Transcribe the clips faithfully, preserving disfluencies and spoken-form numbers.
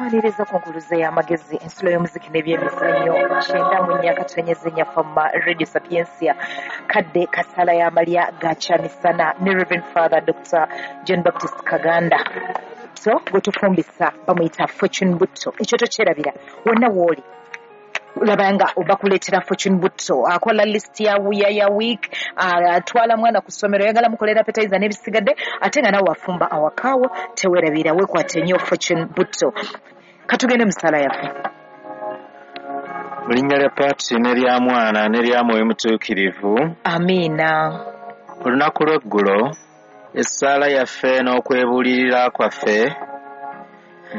Nkwaniriza ku nkuluze y'amagezi, ensulo y'omuziki n'ebyemizannyo, kyenda mu nnya katonyeze nnya Fama Radio Sapientia, kadde kasala y'amalya ga kyamisana ne Reverend Father Doctor John Baptist Kaganda. So gwe tufumbisa bamuyita Fortune Butto. Ekyo tokyerabira, wonna w'oli olaba nga bakuleetera Fortune Butto, akola list ya ya ya week, atwala mwana ku ssomero, oyagala mukolera appetizer n'ebisigadde, ate nga nawe wafumba awakaawo, teweerabira, weekwate nnyo Fortune Butto. Katugende mu ssaala yaffe. Mu linnya lya Patri n'erya Mwana n'erya Mwoyo Mutuukirivu. Amiina. Olunaku lw'eggulo essaala yaffe n'okwebuulirira kwaffe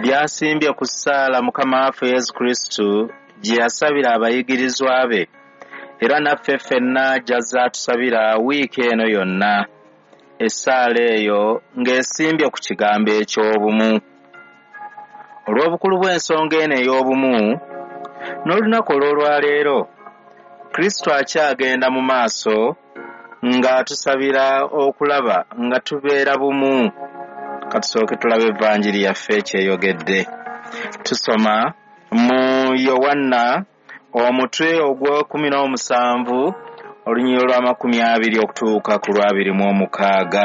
byasimbye ku ssaala Mukama waffe Yesu Kristo gye yasabira abayigirizwa be, era naffe ffenna gy'azze atusabira wiiki eno yonna. Essaala eyo ng'esimbye ku kigambo eky'obumu. Olw'obukulu bw'ensonga eno ey'obumu, n'olunaku olw'olwaleero Kristo akyagenda mu maaso ng'atusabira okulaba nga tubeera bumu. Katusooke tulabe evanjiri yaffe kyeyogedde. Tusoma mu Yowanna omutwe ogw'ekumi n'omusanvu olunyiriri lw'amakumi abiri okutuuka ku lw'abiri mu omukaaga.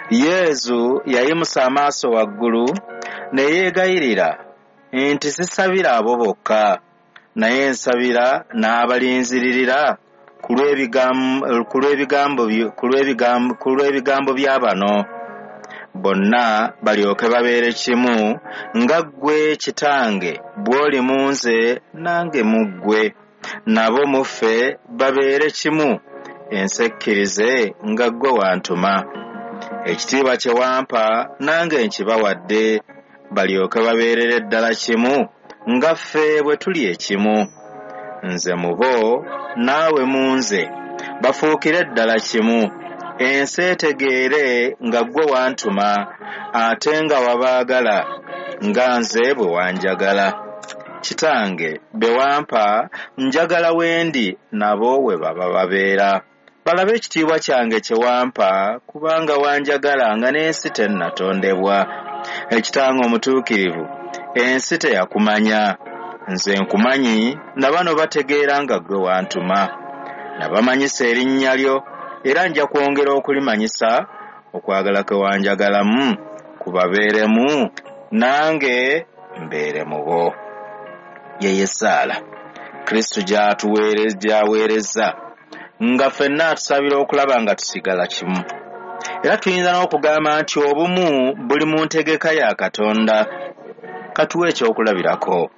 Yesu yayimusa amaaso waggulu ne yeegayirira nti sisabira abo bokka, naye nsabira n'abalinziririra ku lw'ebigambo bya bano bonna balyoke babeere kimu, nga ggwe Kitange bw'oli mu nze nange mu ggwe, nabo mu ffe babeere kimu, ensi ekkirize nga ggwe wantuma. Ekitiibwa kye wampa nange nkibawadde, balyoke babeerere ddala kimu nga ffe bwe tuli ekimu. Nze mu bo naawe mu nze, bafuukire ddala kimu, ensi etegeere nga ggwe wantuma, ate nga wabaagala nga nze bwe wanjagala. Kitange be wampa njagala wendi nabo we baba babeera, balabe ekitiibwa kyange kye wampa, kubanga wanjagala nga n'ensi tennatondebwa. Ekitange omutuukirivu, ensi teyakumanya, nze nkumanyi, na bano bategeera nga ggwe wantuma. Nabamanyisa erinnya lyo, era nja kwongera okulimanyisa, okwagala kwe wanjagalamu kubabeeremu, nange mbeere mu bo. Ye essaala Kristo gy'aweereza nga ffenna atusabira okulaba nga tusigala kimu. Era tuyinza n'okugamba nti obumu buli mu ntegeka ya Katonda. Katuwe ekyokulabirako.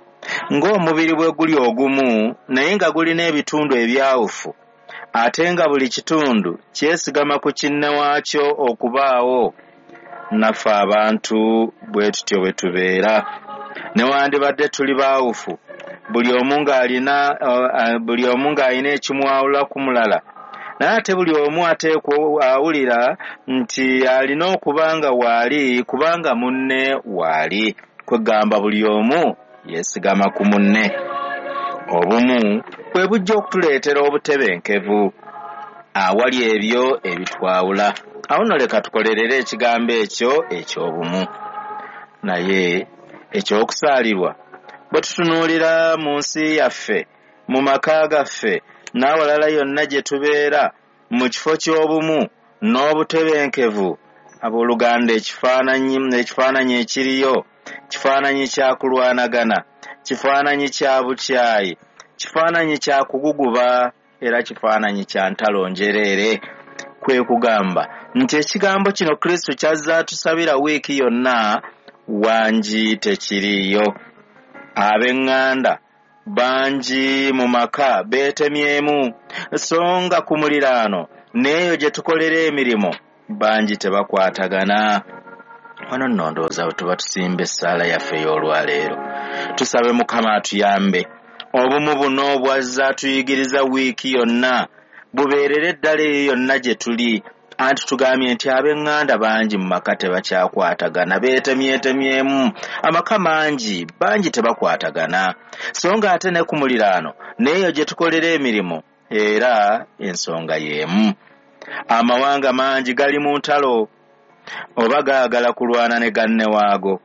Ng'omubiri bwe guli ogumu naye nga gulina ebitundu ebyawufu, ate nga buli kitundu kyesigama ku kinne waakyo okubaawo, naffe abantu bwe tutyo bwe tubeera. Newandibadde tuli baawufu, buli omu ng'alina buli omu ng'alina ekimwawula ku mulala, naye ate buli omu ateekwa awulira nti alina okuba nga waali kubanga munne waali. Kwegamba buli omu yeesigama ku munne. Obumu bwe bujja okutuleetera obutebenkevu awali ebyo ebitwawula. Awo nno leka tukolerere ekigambo ekyo eky'obumu. Naye ekyokusaalirwa, bwe tutunuulira mu nsi yaffe, mu maka gaffe n'awalala yonna gye tubeera, mu kifo ky'obumu n'obutebenkevu, abooluganda, ekifaananyi ekifaananyi ekiriyo kifaananyi kya kulwanagana, kifaananyi kya bukyayi, kifaananyi kya kuguguba, era kifaananyi kya ntalo njereere. Kwe kugamba nti ekigambo kino Kristo ky'azze atusabira wiiki yonna wangi tekiriiyo. Ab'eŋŋanda bangi mu maka beetemyemu, so nga ku muliraano n'eyo gye tukolera emirimu bangi tebakwatagana. Wano nno ndowooza bwe tuba tusimba essaala yaffe ey'olwaleero, tusabe Mukama atuyambe obumu buno bw'azze atuyigiriza wiiki yonna bubeerere ddala eyo yonna gye tuli. Anti tugambye nti ab'eŋŋanda bangi mu maka tebakyakwatagana, beetemyetemyemu, amaka mangi bangi tebakwatagana, so nga ate ne ku muliraano n'eyo gye tukolera emirimu era ensonga y'emu. Amawanga mangi gali mu ntalo oba gaagala kulwana ne ganne waago.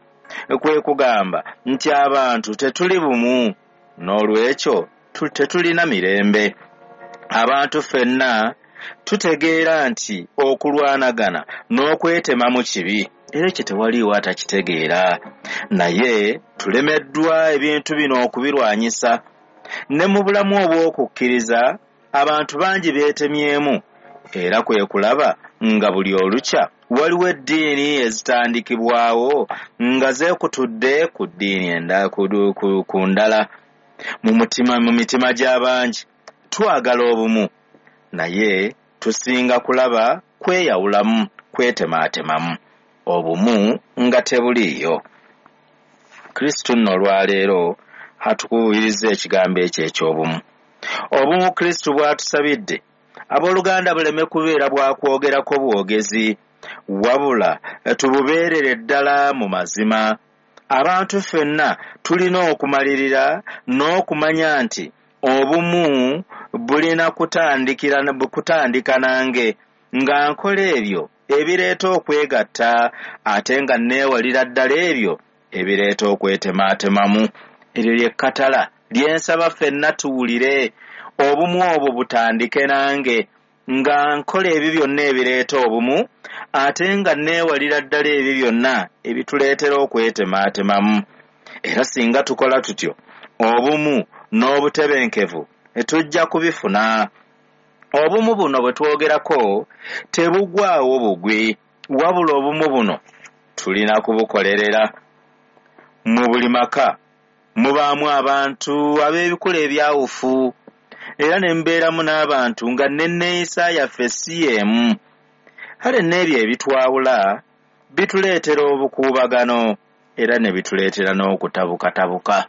Kwe kugamba nti abantu tetuli bumu, n'olwekyo tetulina mirembe. Abantu ffenna tutegeera nti okulwanagana n'okwetemamu kibi, era ekyo tewaliiwo atakitegeera, naye tulemeddwa ebintu bino okubirwanyisa. Ne mu bulamu obw'okukkiriza abantu bangi beetemyemu, era kwe kulaba nga buli olukya waliwo eddiini ezitandikibwawo nga zeekutudde ku ddiini endala ku ndala. Mu mutima mu mitima gy'abangi twagala obumu, naye tusinga kulaba kweyawulamu, kwetemaatemamu, obumu nga tebuliiyo. Kristo nno olwaleero atukubiriza ekigambo ekyo eky'obumu. Obumu Kristo bw'atusabidde, abooluganda, buleme kubeera bwakwogerako bwogezi, wabula tububeerere ddala mu mazima. Abantu ffenna tulina okumalirira n'okumanya nti obumu bulina kutandikira kutandika nange, nga nkola ebyo ebireeta okwegatta, ate nga neewalira ddala ebyo ebireeta okwetemaatemamu. Eryo ly'ekkatala lyensaba ffenna tuwulire. Obumu obwo butandike nange, nga nkola ebyo byonna ebireeta obumu, ate nga neewalira ddala ebyo byonna ebituleetera okwetemaatemamu. Era singa tukola tutyo, obumu n'obutebenkevu tujja kubifuna. Obumu buno bwe twogerako tebugwawo bugwi, wabula obumu buno tulina kubukolerera. Mu buli maka mubaamu abantu ab'ebikula ebyawufu, era ne mbeeramu n'abantu nga n'enneeyisa yaffe si y'emu. Kale n'ebyo ebitwawula bituleetera obukuubagano, era ne bituleetera n'okutabukatabuka.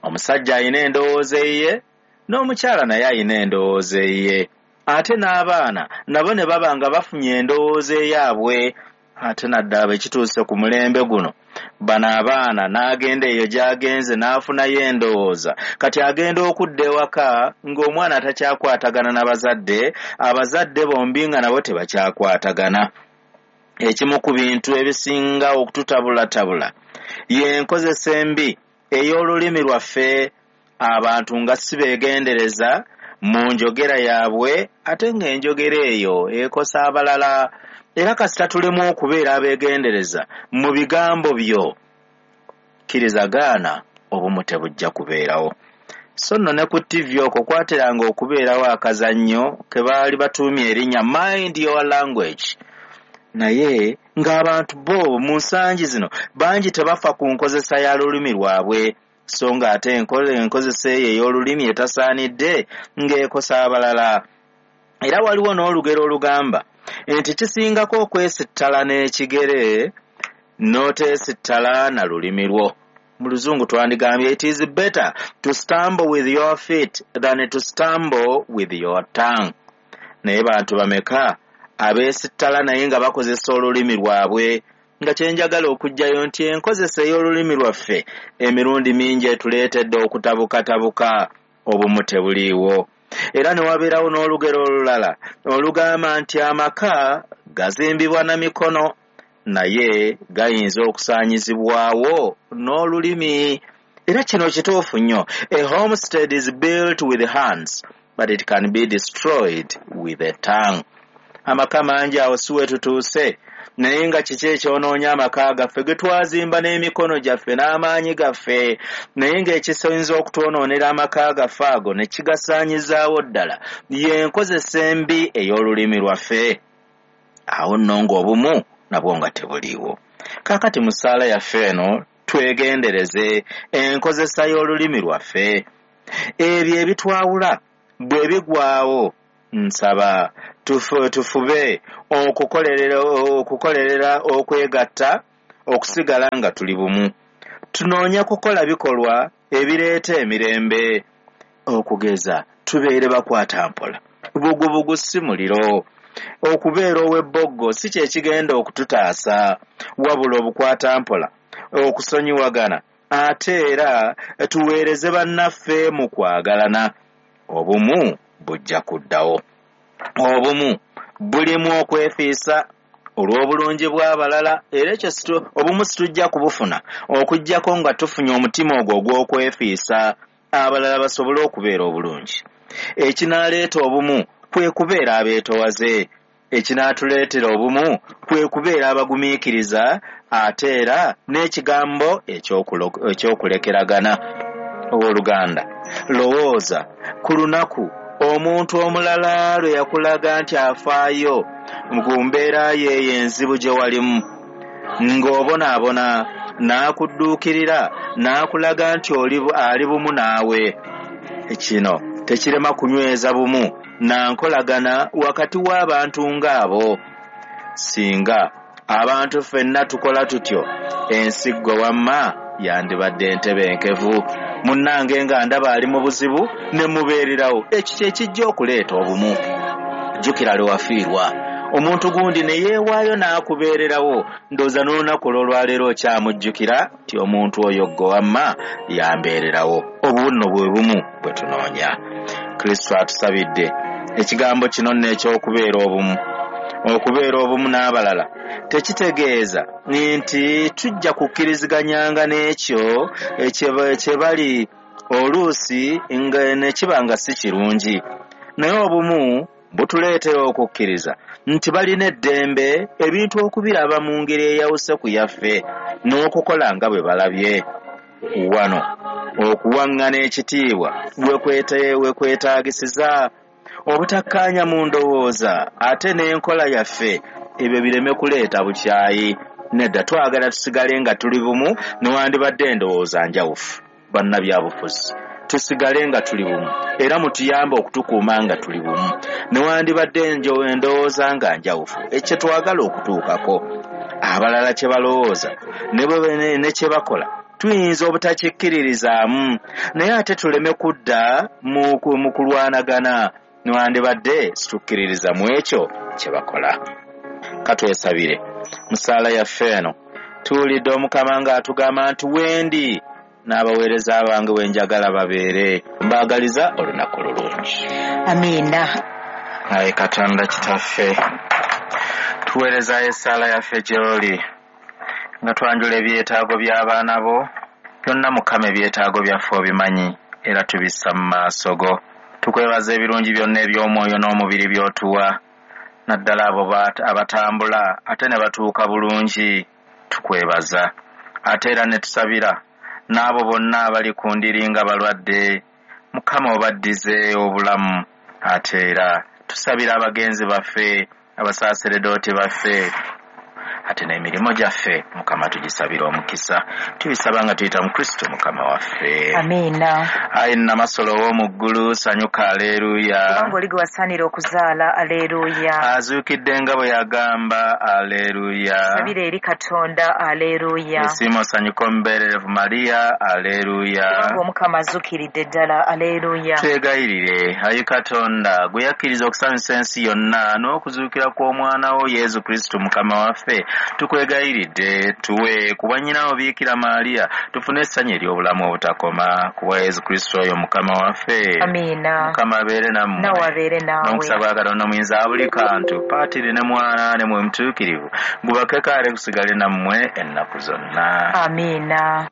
Omusajja alina endowooza eyiye, n'omukyala naye alina endowooza eyiye, ate n'abaana nabo ne baba nga bafunye endowooza eyaabwe. Ate naddala bwe kituuse ku mulembe guno, bano abaana n'agenda eyo gy'agenze n'afunayo endowooza. Kati agenda okudda ewaka ng'omwana takyakwatagana n'abazadde, abazadde bombi nga nabo tebakyakwatagana. Ekimu ku bintu ebisinga okututabulatabula y'enkozesa embi ey'olulimi lwaffe. Abantu nga si beegendereza mu njogera yaabwe, ate ng'enjogera eyo ekosa abalala. Era kasita tulemu okubeera abeegendereza mu bigambo byo, kkiriza gaana, obumu tebujja kubeerawo. So nno ne ku T V okwo kwateranga okubeerawo akazannyo ke baali batuumye erinnya Mind Your Language. Naye ng'abantu bo mu nsangi zino bangi tebafa ku nkozesa ya lulimi lwabwe, so ng'ate enkozesa eyo ey'olulimi etasaanidde ng'ekosa abalala. Era waliwo n'olugero olugamba nti kisingako okwesittala n'ekigere n'oteesittala na lulimi lwo. Mu luzungu twandigambye, it is better to stumble with your feet than to stumble with your tongue. Naye bantu bameka abeesittala naye nga bakozesa olulimi lwabwe? Nga kyenjagala okuggyayo nti enkozesa ey'olulimi lwaffe emirundi mingi etuleetedde okutabukatabuka, obumu tebuliiwo. Era ne wabeerawo n'olugero olulala olugamba nti amaka gazimbibwa na mikono, naye gayinza okusaanyizibwawo n'olulimi. Era kino kituufu nnyo. A homestead is built with hands, but it can be destroyed with a tongue. Amaka mangi awo si we tutuuse, naye nga kiki ekyonoonya amaka gaffe ge twazimba n'emikono gyaffe n'amaanyi gaffe, naye ng'ekisinza okutwonoonera amaka gaffe ago ne kigasaanyizaawo ddala y'enkozesa embi ey'olulimi lwaffe. Awo nno ng'obumu nabwo nga tebuliiwo. Kaakati mu ssaala yaffe eno twegendereze enkozesa y'olulimi lwaffe. Ebyo ebitwawula bwe bigwawo, nsaba tufube okukolerera okukolerera okwegatta, okusigala nga tuli bumu. Tunoonya kukola bikolwa ebireeta emirembe, okugeza tubeere bakwata mpola. Bugubugu si muliro. Okubeera ow'ebboggo si kye kigenda okututaasa, wabula obukwata mpola, okusonyiwagana, ate era tuweereze bannaffe mu kwagalana. Obumu bujja kuddawo. Obumu bulimu okwefiisa, olw'obulungi bw'abalala. Era ekyo obumu situjja kubufuna okuggyako nga tufunye omutima ogwo ogw'okwefiisa abalala basobole okubeera obulungi. Ekinaaleeta obumu kwe kubeera abeetowaze. Ekinaatuleetera obumu kwe kubeera abagumiikiriza, ate era n'ekigambo eky'okulekeragana. Owooluganda, lowooza ku lunaku omuntu omulala lwe yakulaga nti afaayo ku mbeera ye enzibu gye walimu, ng'obonaabona, n'akudduukirira n'akulaga nti ali bumu naawe. Kino tekirema kunyweza bumu na nkolagana wakati w'abantu ng'abo. Singa abantu ffenna tukola tutyo, ensi ggwe wamma yandibadde entebenkevu. Munnange nga ndaba ali mu buzibu ne mubeererawo. Ekyo kye kijja okuleeta obumu. Jjukira lwe wafiirwa omuntu gundi ne yeewaayo n'akubeererawo, ndowooza n'olunaku olw'olwaleero okyamujjukira nti omuntu oyo ggwe wamma yambeererawo. Obwo nno bwe bumu bwe tunoonya. Kristo atusabidde ekigambo kino nno eky'okubeera obumu. Okubeera obumu n'abalala tekitegeeza nti tujja kukkiriziganyanga n'ekyo kye bali oluusi ne kiba nga si kirungi, naye obumu butuleetera okukkiriza nti balina eddembe ebintu okubiraba mu ngeri eyawuse ku yaffe n'okukola nga bwe balabye. Wano okuwaŋŋana ekitiibwa we kwetaagisiza obutakkaanya mu ndowooza ate n'enkola yaffe, ebyo bireme kuleeta bukyayi. Nedda, twagala tusigale nga tuli bumu newandibadde endowooza njawufu. Bannabyabufuzi, tusigale nga tuli bumu, era mutuyambe okutukuuma nga tuli bumu newandibadde endowooza nga njawufu. Ekyo twagala okutuukako. Abalala kye balowooza ne kye bakola tuyinza obutakikkiririzaamu, naye ate tuleme kudda mu kulwanagana newandibadde situkkiririza mu ekyo kye bakola. Katwesabire. Mu ssaala yaffe eno tuwulidde Omukama ng'atugamba nti wendi n'abaweereza bange we njagala babeere. Mbaagaliza olunaku lulungi. Amiina. Ayi Katonda Kitaffe, tuweerezaayo essaala yaffe gy'oli nga twanjula ebyetaago by'abaana bo byonna. Mukama, ebyetaago byaffe obimanyi era tubissa mu maaso go. Tukwebaza ebirungi byonna eby'omwoyo n'omubiri by'otuwa, naddala abo abatambula ate ne batuuka bulungi. Tukwebaza ate era ne tusabira n'abo bonna abali ku ndiri nga balwadde. Mukama obaddize obulamu. Ate era tusabira abagenzi baffe, abasaaseredooti baffe, ate n'emirimu gyaffe Mukama tugisabira omukisa. Tubisaba nga tuyita mu Kristo Mukama waffe. Amiina. Ayi Nnamasolo ow'omu ggulu, sanyuka, aleeruya. Kubanga oli gwe wasaanira okuzaala, aleeruya. Azuukidde nga bwe yagamba, aleeruya. Tusabire eri Katonda, aleeruya. Esiima osanyuka omubeererevu Mariya, aleeruya. Kubanga Omukama azuukiridde ddala, aleeruya. Twegayirire, ayi Katonda, gwe yakkiriza okusanyusa ensi yonna n'okuzuukira kw'omwana wo Yesu Kristo Mukama waffe, tukwegayiridde tuwe ku bwannyinawo Biikira Maria tufune essanyu ery'obulamu obutakoma ku bwa Yesu Kristo oyo Mukama waffe. Amiina. Mukama abeere nammwe. Nawe abeere naawe. N'omukisa gwa Katonda muyinza buli kantu, Patiri ne Mwana ne Mwoyo Mutuukirivu, gubakekaale gusigale nammwe ennaku zonna. Amiina.